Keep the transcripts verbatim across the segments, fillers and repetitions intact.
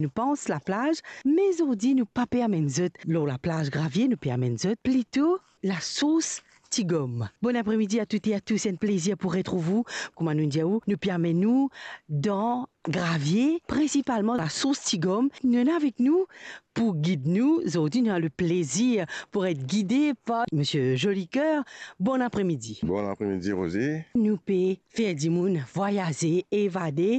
Nou pans laplaz, me zordi nou pa pe amenn zot lor laplaz Gravie, nou pe amenn zot plito lasours Tigom. Bon apremidi a toutes et à tous, enn plezir pou retrouv ou. Kouma nou dir ou, nou pe amenn ou dan Gravie, prinsipalman lasours Tigom. Nou ena avek nou pou gid nou. Zordi nou ena leplezir pou et gide par Misie Jolicoeur. Bon apremidi. Bon apremidi, Rosie. Nou pe fer dimoun vwayaze, evade.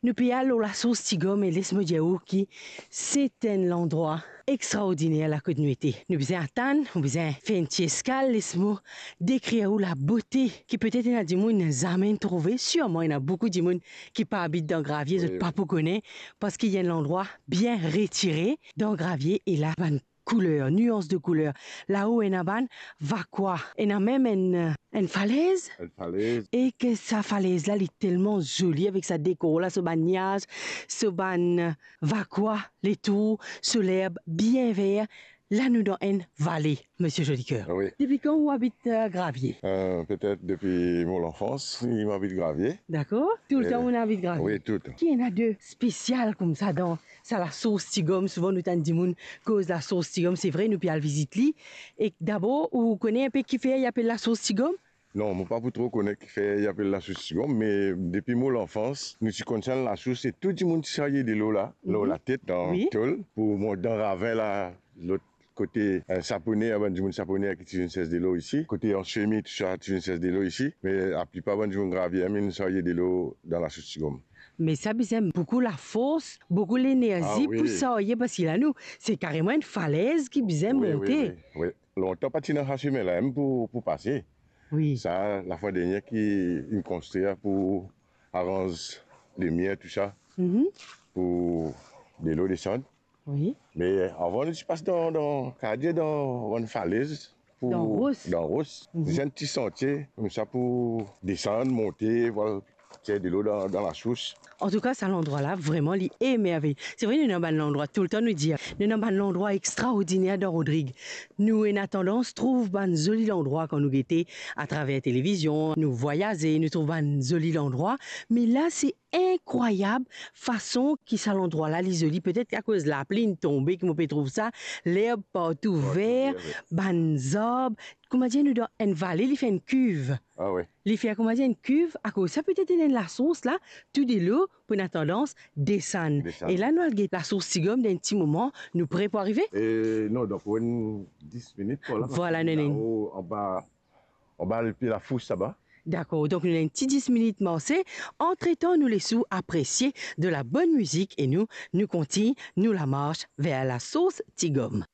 Nou pe al lor lasours Tigom e les mo dir ou ki se enn landrwa extraordiner la kot nou ete. Nou bizin atann, nou bizin fer enn ti eskal, les mo dekrir ou labote ki petet ena dimoun zame trouve. Sirman ena boukou dimoun ki pa abit dan Gravie, zot pa pou kone, parski li enn landrwa bien retire dan Gravie e la bann kouler, nians de kouler. Lao ena bann vakwa, ena mem enn, enn falez. Enn falez. E ki sa falez la, li telman zoli avek sa dekor la, so bann niaz, so bann vakwa, letour, so lerb bien ver. La nou dan enn vale, Misie Jolicoeur. Wi. Depi kan ou abit, eh, Gravie? Eh, petet depi mo lanfans, mo abit Gravie. Dakor. Toultan ou ena abit Gravie? Wi, toultan. Ki ena de spesial koumsa dan sa lasours Tigom? Souvan nou tann dimoun koz lasours Tigom, se vre, nou pe al vizit li. E dabor, ou kone enpe kifer li apel lasours Tigom? Non, mo pa pou tro kone kifer li apel lasours Tigom, me depi mo lanfans, nou ti konn sa lasours e tou dimoun ti sarye delo la, lor latet, dan tol, pou mont dan ravin la, lot kote, eh, Sapone, bann dimoun Sapone ki ti vinn sers delo isi, kote Ansemi, tousa, ti vinn sers delo isi, me laplipar bann dimoun Gravie, vinn sarye delo dan lasours Tigom. Me sa bizin boukou lafors, boukou lenerzi pou sarye, parski la nou, se kareman enn falez ki bizin monte. Wi, wi, wi. Lontan pa ti ena sa semin la mem pou, pou pase. Wi. Sa, lafwa dernie ki inn konstrir pou aranz limie, tousa, pou delo desann. Wi. Me avan nou ti pas dan, dan, kadir dan bann falez, pou, dan ros. Dan ros. Ti ena enn ti santie koumsa pou desann, monte, pou al tir delo dan, dan lasours. Antouka, sa landrwa la, vreman, li emervey. Se vre, nou ena bann landrwa, toultan nou dir, nou ena bann landrwa extraordiner dan Rodrig. Nou ena tandans trouv bann zoli landrwa kan nou gete atraver televizion, nou vwayaze, nou trouv bann zoli landrwa. Me la, se inkrwayab fason ki sa landrwa la, li zoli. Petet akoz lapli inn tonbe ki mo pe trouv sa, lerb partou ver, bann zarb. Kouma dir, nou dan enn vale, li fer enn kiv. Ah wi. Li fer, kouma dir, enn kiv, akoz sa petet ena enn lasours la, tou delo pou ena tandans desann. Desann. E la, nou al get lasours Tigom dan enn ti moman, nou pre pou arive? E non, dan pou enn dis minit, vwala. Vwala, nou ena enn lao, anba, anba lepie lafous laba. Dakor, donk nou ena enn ti dis minit marse. Antretan, nou les ou apresie de la bonn mizik e nou, nou kontign nou lamars ver lasours Tigom.